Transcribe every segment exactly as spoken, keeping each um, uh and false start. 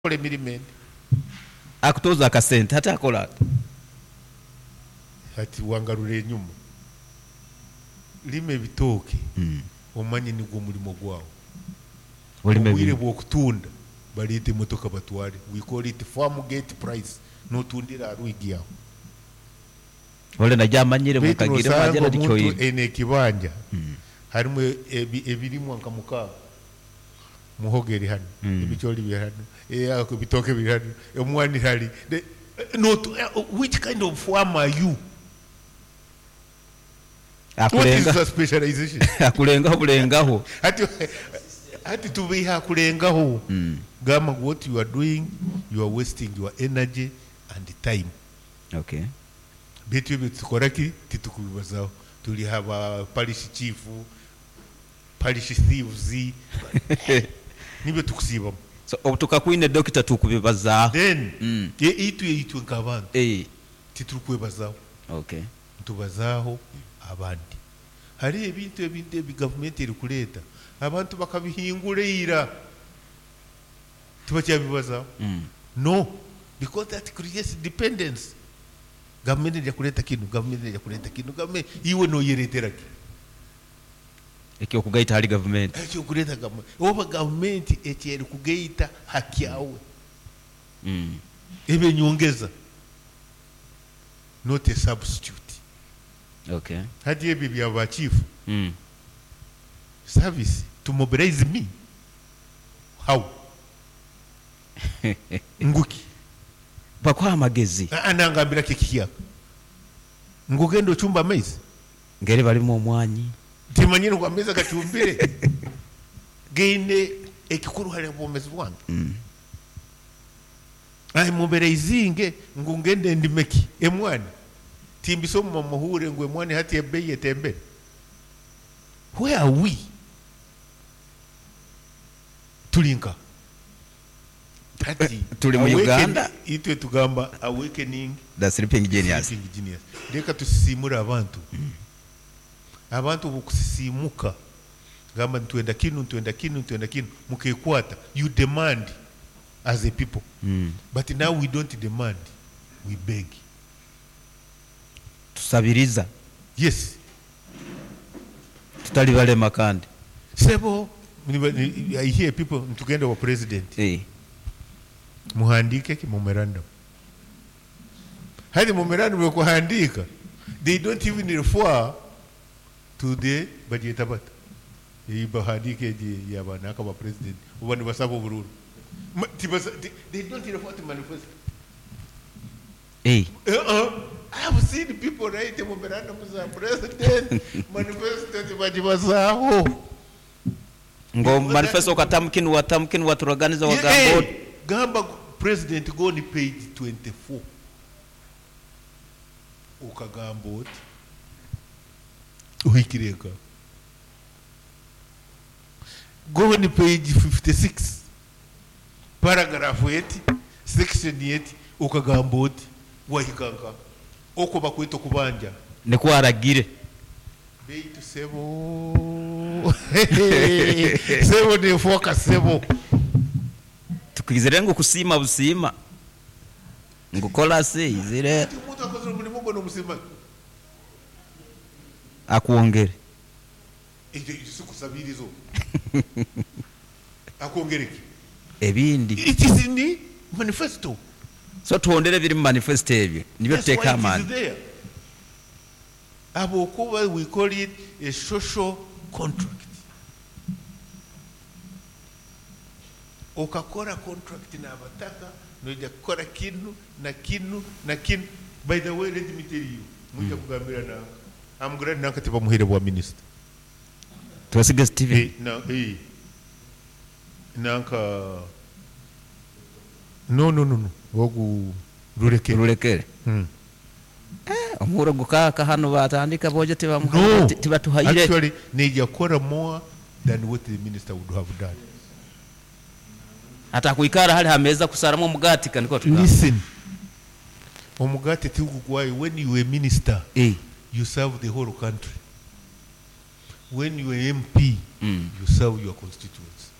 Kukora emirimo endi. Akutooza akasente hati akora ata? Hati wangarura enyuma. Rima ebitooke omanye nigwo murimo gwawe. Orime Obwire ebintu. bw'okutunda bareete emotoka batware. We call it farm gate price. Nootundira aha rwigi aho. Ole naija amanyire Beitu mukagire noosanga mwagenda omuntu tikyoine. aine ekibanja harimu ebi- ebirimwa nka mukaaga. Muhogo eri hanu, ebicoori biri hanu, eh, ebitooke biri hanu, omwani hari. The- Nootu- eh, which kind of farm are you? What is Akurenga your specialization? Akurengaho burengaho. Hati hati tubeiha akurengaho. Gamba ngu what you are doing, you are wasting your energy and time. Okay. Beitu ebyo tukora ki? Titukubibazaho. Turi aha ba parish chief, parish thieves, nibyo tukusiibamu. So obu tukakwine dokita tukubibazaaho. Then Mm. e- itwe itwe nk'abantu Eh. titurikwebazaho. Okay. Nitubazaaho abandi. Hariho ebintu ebindi ebi gavumenti erikureeta abantu bakabihingura ira tibakyabibazaho. Mm. No, because that creates dependence. Gavumenti neija kureeta kinu, gavumenti neija kureeta kinu, gavumenti iwe nooyereetera ki? Eky'okugaita ahari gavumenti. Ekyokureeta gavumenti. Oba gavumenti eki erikugaita ha kyawe Mm. ebe enyongeza, not a substitute. Okay. Hati ebyo bya ba chief Mm. service to mobilize me how? Nguki? Bakuha amagezi. Ah, nangambira ki ekihyaka? Ngu genda ocumbe amaizi? Ngeri barimu omwanyi. Timanyire ngu amaizi agacumbire gaine ekikuru hari obwomeezi bwange. Mm. Mobilizinge ngu ngende ndime ki? Emwani. Timbisoma muhure ngu emwani hati ebeeyi etembere. Where are we? Turi nka? Hati Turi mu awaken- Uganda. Itwe tugamba awakening The sleeping genius. sleeping genius. Reka tusisimure abantu. Abantu obukusisimuka gamba nitwenda kinu, nitwenda kinu, nitwenda kinu, mukekwata. You demand as a people. Mm. But now we don't demand, we beg. Tusabiriza. Yes. Tutali balema kandi. Sebo, niba- ni- I hear people nitugenda wa president. Eh. Muhandike ki memorandum. Hadi memorandum yokuhandika, they don't even refer to the bagyeta bata. Ei bahandike egi yabanaka ba president oba nibasaba obururu. Ma- tibasa- they- they don't refer to manifesto. Eh. Uh-uh. I have seen people write memorandum za president, manifesto tibagibazaaho. Ngo manifesto okatamukinu watamukinu waturaganiza Yeah, wagamba eh, oti. Gamba president go on page twenty-four. Okagamba oti ohikire nka. Go on page fifty-six. Paragraph eight, section eight, okagamba oti wahika nka. Okwo bakweta okubanja. Nikwo aragire. Beitu sebo. Sebo nefoka sebo. Tukwizire ngu kusiima busiima. Ngu kolasi izire. Ati omuntu akozire omurimo gwe nomusiima. Akwongere. Ekyo si kusabiriza. Akwongere ki? Ebindi. It is in the manifesto. So tuhondere ebiri mu manifesto ebyo. Nibyo That's why tuteeka it is amaani. there. Habwokuba we call it a social contract. Okakora contract n'abataka, noija kukora kinu na kinu na kinu. By the way, let me tell you, mwija kugambira nanka. I'm glad nanka tibamuhaire bwa minister. Twesige Steven. Eh, na, eh. Nanka No, no, no, no. Ogu Rurekere. Rurekere. Hmm. Eh, omuhuro gukaaka hanu batandika boje tibamuhaire, No. tibatuhaire. Actually, neija kukora more than what the minister would have done. Atakwikara hali hameza kusaramu omugati kaniko tugamba. Listen. Omugati tigugwayo. When you were minister, Eh. you serve the whole country. When you were M P, Mm. you serve your constituents.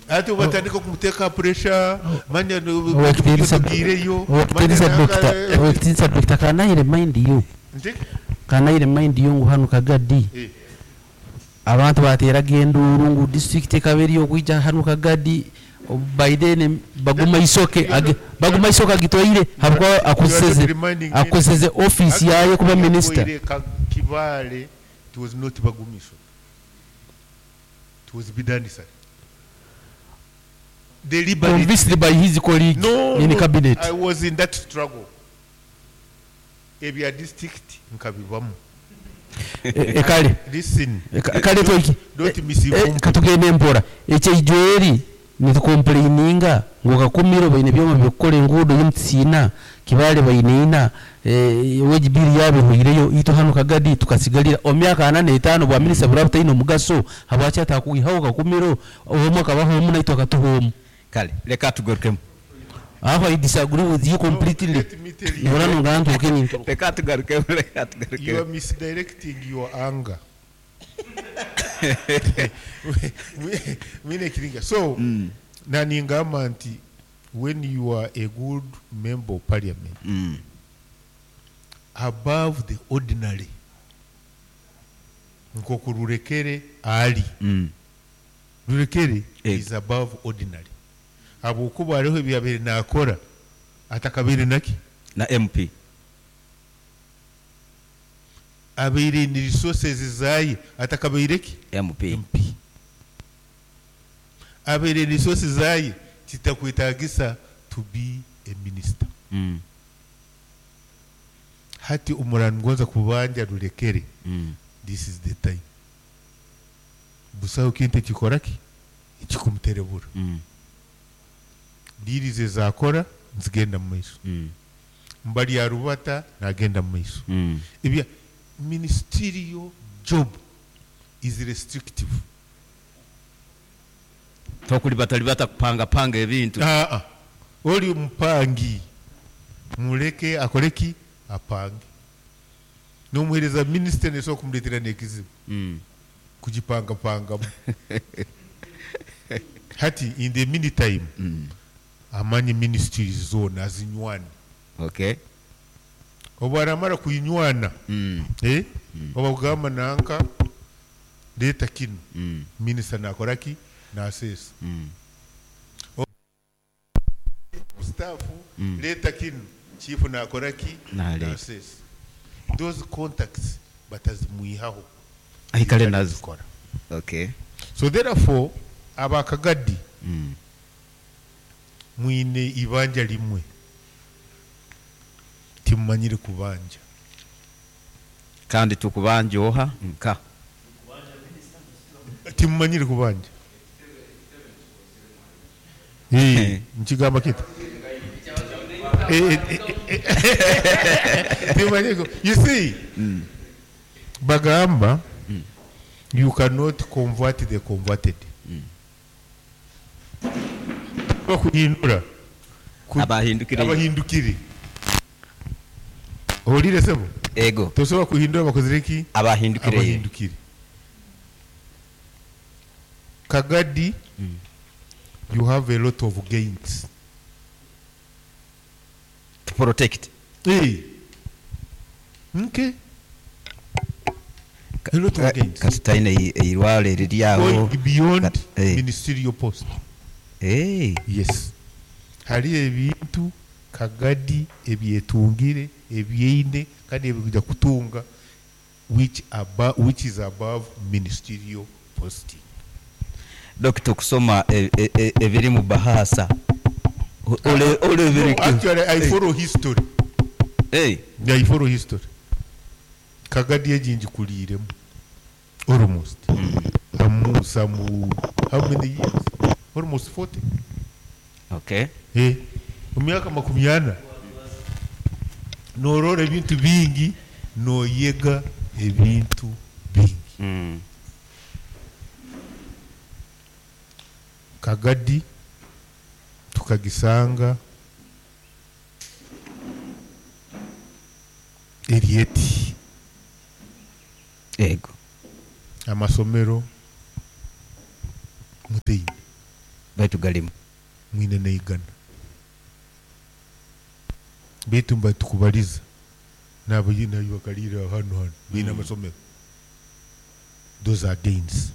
Ati obatandika kumuteeka pressure, manya Owekitiinisa tugiireyo. Owekitiinisa Doctor, owekitiinisa Doctor, can I remind you Nti? can I remind you ngu hanu Kagadi Eh. abantu bateraga enduuru ngu district ekaba eri okwija hanu Kagadi. By then Baguma Isoke age- Baguma Isoke agitwaire habwa akozeseze reminding me- akozeseze office yaye kuba minister. Actually, Ka- Kibale, it was not Bagumiso. It was Bidandi Ssali. Deliberately. Convinced by his colleague No, in no, cabinet. I was in that struggle. Ebya district nkabibamu. E- ekale Listen. Eka- kale tweki Don't misinform. Eh, katugende mpora. Ekyeijweri nitucomplaininga ngu Kakumiro baine byoma byokukora enguudo y'emutisiina, Kibale baine ina, eh, wage bill yabo ehwireyo, itwe hanu Kagadi tukasigalira omu myaka ana n'etaano. Bwa minisita buraba butaine omugaso, habwaki atakwihaho Kakumiro omwe akabaho omu naitwe akatuha omu? Kale leka tugarukemu. Aho I disagree with you completely. Let me tell you. Nibona nungantuuke ninturuka. Leka tugarukemu, leka You are tugarukemu. misdirecting your anger. Mwine kiringa. So, naningamba nti when you are a good member of parliament, Mm. above the ordinary, nkoku Rurekere ali. Mm. Rurekere Eh. is above ordinary. Habwokuba hariho ebyabaire nakora atakabaire naki? Na M P. Abaire ni resources zaye atakabaire ki? M P. M P. Abaire ni resources zaye kitakwetagisa to be a minister. Mm. Hati umurangonza kubanja Rurekere, Mm. this is the time. Busaho kintu ekikora ki ekikumuterebura. Mm. Deals zakora nzigenda mu maiso. Mm. Mbali ya rubata nagenda mu maiso. Mm. Ebya ministerial job is restrictive. Tokulibatalibata kupanga panga ebintu. Ah, ah. Oli mupangi, muleke akoleki apange. Nomuhereza minisita nesobola kumuleetera n'ekizibu Mm. kugipangapangamu. Hati in the meantime, Mm. amanye ministries zona azinywane. Okay. Obu aramara kuyinywana, Mm. eh? Oba kugamba nanka leeta kino, Mm. minisita nakoraki? Naseesa. Mm. Staff, leeta kino, chief nakoraki? Naleeta. Naseesa. Those contacts batazimwihaho. Aikale nazo. Zikora. Okay. So therefore abakagadi, Mm. mwine ibanja limwe, timumanyire kubanja. Kandi tukubanja oha nka? Timumanyire kubanja. Eh, nkigamba kita. Eh, eh, eh, eh, timumanyire ku- you see, bagamba you cannot convert the converted. Bakuhindura Ku- Abahindukire. Abahindukire. Owulire sebo? Ego. Tosobola kuhindura bakozire ki? Abahindukire. Abahindukire. Kagadi, you have a lot of gains To protect. Hey. Okay, a lot of gains. Kati talina eirwalo eriri awo. Going beyond Kat- eh. ministerial post. Eh. Yes, hari ebintu Kagadi ebyetungire ebyeine kandi ebikuja kutunga which, aba, which is above ministerial posting. Dokita, okusoma e- e- e- ebiri mu bahasa ole ole No, ebiri. actually I follow history. Eh. I follow history. Kagadi egi ngikuliiremu almost amu some how many years, almost forty. Okay. Eh, mu myaka makumi ana norora ebintu bingi, noyega ebintu bingi. Mm. Kagadi tukagisanga erieti. Ego. Amasomero muteini. Baitu galimu. Mwine naigana baitu mba tukubaliza nabo nayo bakalira hano hano biine amasomero. Those are gains.